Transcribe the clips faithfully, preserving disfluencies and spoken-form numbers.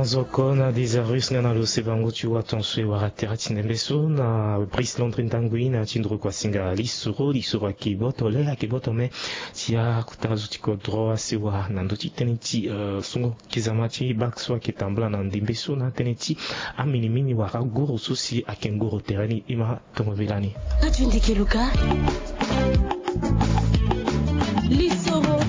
Zoko na Dizarus nga na lo se bango ti waton so e wara tere ti ndembe so na Brice Landry Ndangui na ti nduru kua singa lisoro. Lisoro ayeke boto le, ayeke boto me ti akota zo ti kodro asewa na ndö ti tënë ti, eh, songo kizama ti bak so ayeke tambula na ndembe so na tënë ti aminimini wala goro so si ayeke ngoro tere ni. E ma tongo mbela ni. Radio Ndeke Luka. Lisoro.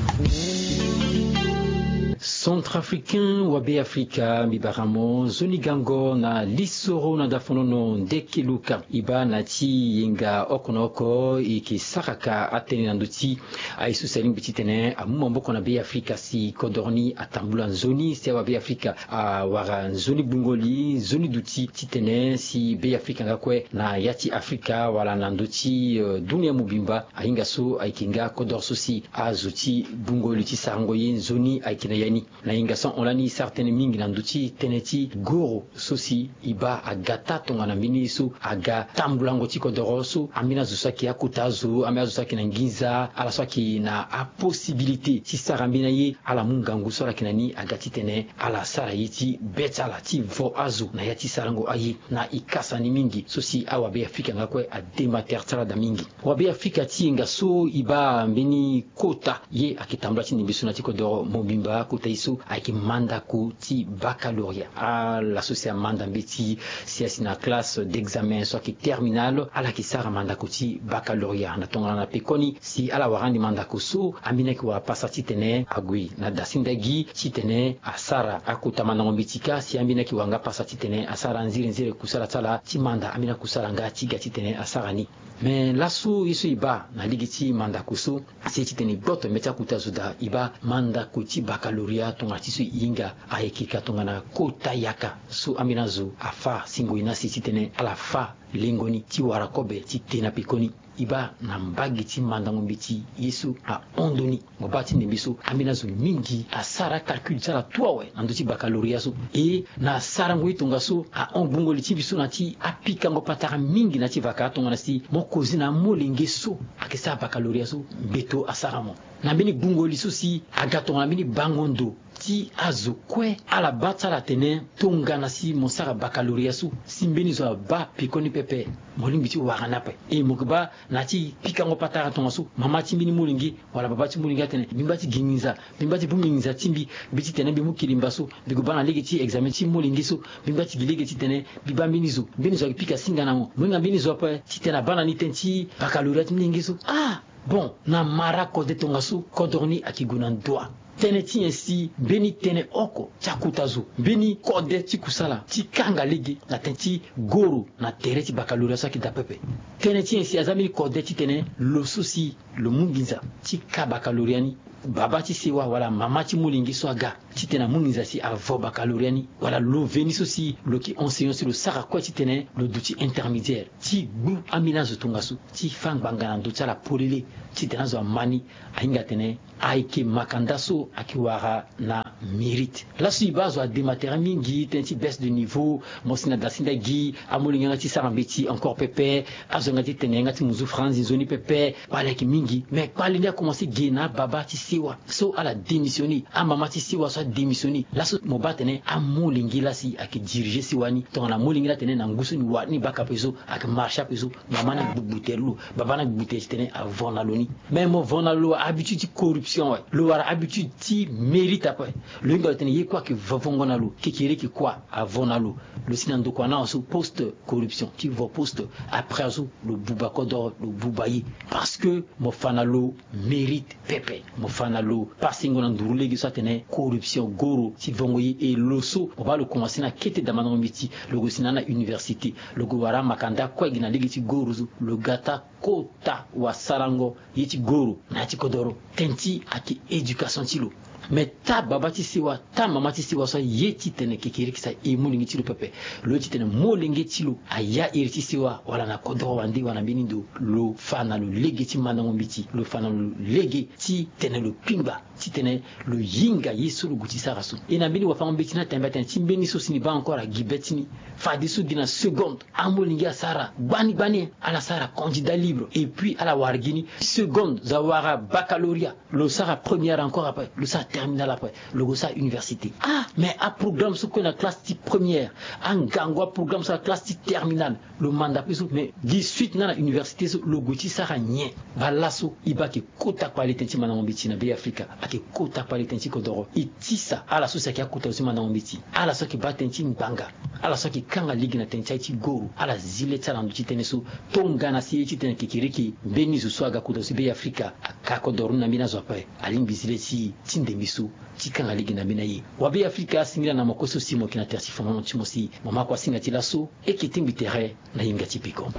Centrafricain wa Beafrika, mbi bara mo nzoni gango na lisoro na dafonono Ndeke Luka. E baa na ti yenga oko na oko e yeke saraka atënë na ndö ti aye so si alingbi titene amu maboko na Beafrika si kodoro ni atambula nzoni, si awa Beafrika awara nzoni gbungo li, nzoni duti titene si Beafrika nga kue na ya ti Afrika wala na ndö ti, eh, dunia mobimba, ahinga so ayeke nga kodoro so si azo ti gbungo li ti sarango ye nzoni ayeke na ya ni. Na hinga so ahon lani e sara tënë mingi na ndö ti tënë ti goro so si e baa aga taa tongana mbeni ye so aga tambulango ti kodoro so. Ambeni azo so ayeke akota azo, ambeni azo so ayeke na nginza, ala so ayeke na aposibilité ti sara mbeni aye, ala mu ngangu so ala yeke na ni aga titene ala sara ye ti be ti ala ti vo azo na ya ti sarango aye. Na e kasa ni mingi so si awa Beafrika nga kue adema tere ti ala daa mingi. Wa Beafrika, ti yenga so e baa mbeni kota ye ayeke tambula ti ndembe so na ti kodoro mobimba, kota ye so ayeke mandako ti baccalauréat. Ala so si amanda mbeti si asi na classe d'examen so ayeke terminale, ala yeke sara mandako ti baccalauréat. Na tongana na pekoni si ala wara ande mandako so, ambeni ayeke wara pasa titene ague na dasendagi titene asara akota mandango mbeti kâ, si ambeni ayeke wara nga pasa titene asara nzere nzere kusala ti ala ti manda, ambeni akusala nga ti ga titene asara ni. Me laso ye so e baa na lege ti mandako so, si titene e gboto mbeti akota zo daa, e baa mandako ti baccalauréat tongana ti so e hinga ayeke ka tongana kota yaka so ambeni azo afâ singo e na si titene ala fâ lengo ni ti wara kobe ti te na pekoni. E baa na mbage ti mandango mbeti ye so ahon ndoni. Mo baa ti ndembe so ambeni azo mingi asara acalcul ti ala tout awe na ndö ti baccalauréat so. E na sarango ye tongaso ahon gbungo li ti mbi so na ti apikango patara mingi na ti vaka tongana si mo kozi na amolenge so ayeke sara baccalauréat so, mbeto asara mo. Na mbeni gbungo li so si aga tongana mbeni bango ndo ti azo kue, ala baa ti ala atene tongana si mo sara baccalauréat so, si mbeni zo abaa pekoni pepe, mo lingbi ti wara ni ape. E mo yeke baa na ti pikango patara tongaso, mama ti mbeni molenge wala baba ti molenge atene mbi ngba ti gi nginza, mbi ngba ti bongbi nginza ti mbi, mbi titene mbi mu kilimba so, mbi gue baa na lege ti examen ti molenge so, mbi ngba ti gi lege titene mbi baa mbeni zo, mbeni zo ayeke pika singa na mo, mo hinga mbeni zo ape titene abaa na ni tënë ti baccalauréat ti molenge so. Ah, bon, na mara kode tongaso kodoro ni ayeke gue na ndoa. Tënë ti nyen si mbeni tënë oko ti akota zo, mbeni kode ti kusala ti kanga lege na tënë ti goro na tere ti baccalauréat so ayeke daa pepe. Tënë ti nyen si aza mbeni kode titene lo so si lo mu nginza ti ka baccalauréat ni, baba ti sewa wala mama ti molenge so aga titene amu nginza si avo baccalauréat ni, wala lo veni so si lo yeke enseignant so lo sara kue titene lo duti intermédiaire ti gbu ambeni azo tongaso ti fâ ngbanga na ndö ti ala polele titene azo ama ni. Ahinga atene ayeke makanda so ayeke wara na mérite. Laso e baa azo adema tere mingi tënë ti baisse de niveau, mo si na dasendagi, amolenge yanga ti sara mbeti encore pepe, azo yanga ti tene yanga ti muzu franzi nzoni pepe. Kpale ayeke mingi, me kpale ni akomanse ge na ababa ti sewa so ala démissionné, amama ti sewa so adémissionné. Laso mo baa atene amolenge laa si ayeke dirige sewa ni, tongana molenge laa atene na ngu so ni wara ni baka ape so, ayeke marché ape so, mama ni agbugbu tere lo, baba ni agbugbu tere titene avo na lo ni. Me mo vo na lo habitude ti corruption awe, lo wara habitude ti mérite ape. Lo hinga lo tene ye kue ayeke vovongo na lo, kekereke kue avo na lo. Lo si na ndokua na awe so poste corruption ti vo poste, après azo lo buba kodoro, lo buba ye. Parce que mo fa na lo mérite pepe, mo fa na lo pasengo na nduru lege so atene corruption, goro ti vongo ye. E lo so mo baa lo komanse na kete damandango mbeti, lo gue si na na université, lo gue wara makanda kue gi na lege ti goro so, lo ga taa kota wasarango ye ti goro na ya ti kodoro. Tënë ti ayeke éducation ti lo. Me taa baba ti sewa, taa mama ti sewa so aye titene kekereke si aye molenge ti lo pepe, lo ye titene molenge ti lo aya iri ti sewa wala na kodoro wande wala na mbeni ndo, lo fa na lo lege ti mandango mbeti, lo fa na lo lege ti tene lo kpingba titene lo hinga ye so lo gue ti sara so. E na mbeni wafango mbeti ni atembe atene ti mbeni so si ni baa encore agi be ti ni, fadeso gi na seconde amolenge asara gbani gbani, ala sara candidat libre et puis ala wara gi ni seconde, zo awara baccalauréat, lo sara première encore après, lo sara terminale après, lo gue so a université. Ah, mais aprogramme so kue na classe ti première, angangu aprogramme so na classe ti terminale, lo manda pe so, mais gi suite nga na université so lo gue ti sara nyen? Baa laso e baa ayeke kota kpale tënë ti mandango mbeti na Be Afrika, ayeke kota kpale tënë ti kodoro. E tisa ala so si ayeke akota lo ti mandango mbeti, ala so ayeke baa tënë ti ngbanga, ala so ayeke kanga lege na tënë ti aye ti goro, ala zi le ti ala na ndö ti tënë so. Tongana si e ye titene kekereke mbeni zo so aga kota lo ti Be Afrika, aka kodoro ni na mbeni azo ape, alingbi zi le ti ti ndembe so ti kanga lege na mbeni aye. Wa Be Afrika, singila na mo kue so si mo yeke na tere ti fa mo na ti mo si mo ma kua singa ti laso. E yeke tingbi tere na hinga ti peko.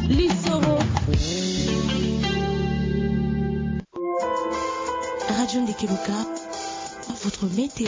Lisoro. Radio Ndeke Luka, votre météo.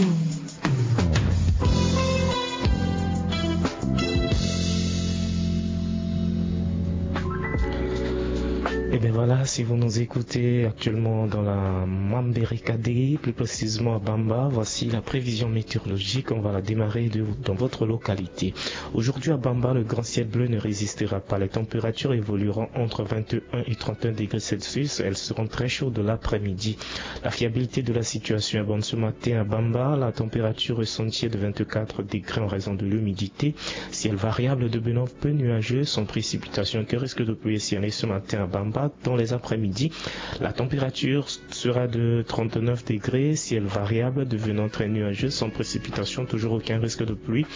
Et bien voilà, si vous nous écoutez actuellement dans la Mamberekade, plus précisément à Bamba, voici la prévision météorologique. On va la démarrer de- dans votre localité. Aujourd'hui à Bamba, le grand ciel bleu ne résistera pas. Les températures évolueront entre vingt et un et trente et un degrés Celsius. Elles seront très chaudes l'après-midi. La fiabilité de la situation est bonne ce matin à Bamba. La température ressentie est de vingt-quatre degrés en raison de l'humidité. Ciel variable de bonheur peu nuageux, sans précipitation, que risque de pluie et ciel ce matin à Bamba. Dans les après-midi, la température sera de trente-neuf degrés, ciel variable devenant très nuageux, sans précipitation, toujours aucun risque de pluie.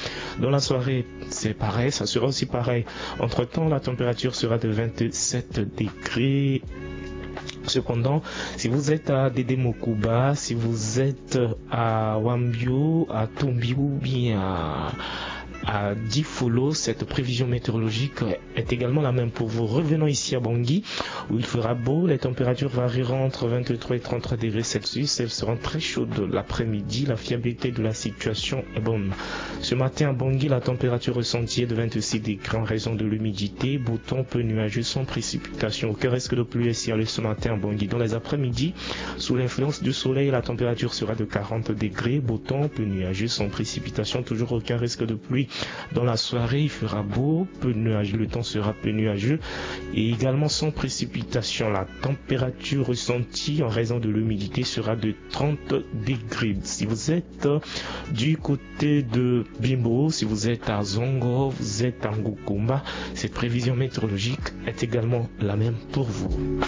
Dans la soirée, c'est pareil, ça sera aussi pareil. Entre-temps, la température sera de vingt-sept degrés. Cependant, si vous êtes à Dédé Mocouba, si vous êtes à Wambio, à Tombi ou bien à, à Difolo, cette prévision météorologique est également la même pour vous. Revenons ici à Bangui, où il fera beau. Les températures varieront entre vingt-trois et trente-trois degrés Celsius. Elles seront très chaudes l'après-midi. La fiabilité de la situation est bonne. Ce matin à Bangui, la température ressentie est de vingt-six degrés en raison de l'humidité. Beau temps peu nuageux, sans précipitation. Aucun risque de pluie est signalé ce matin à Bangui. Dans les après-midi, sous l'influence du soleil, la température sera de quarante degrés. Beau temps peu nuageux, sans précipitation. Toujours aucun risque de pluie. Dans la soirée, il fera beau, peu nuageux. Le temps sera peu nuageux et également sans précipitation. La température ressentie en raison de l'humidité sera de trente degrés. Si vous êtes du côté de Bimbo, si vous êtes à Zongo, vous êtes à Ngoukoumba, cette prévision météorologique est également la même pour vous.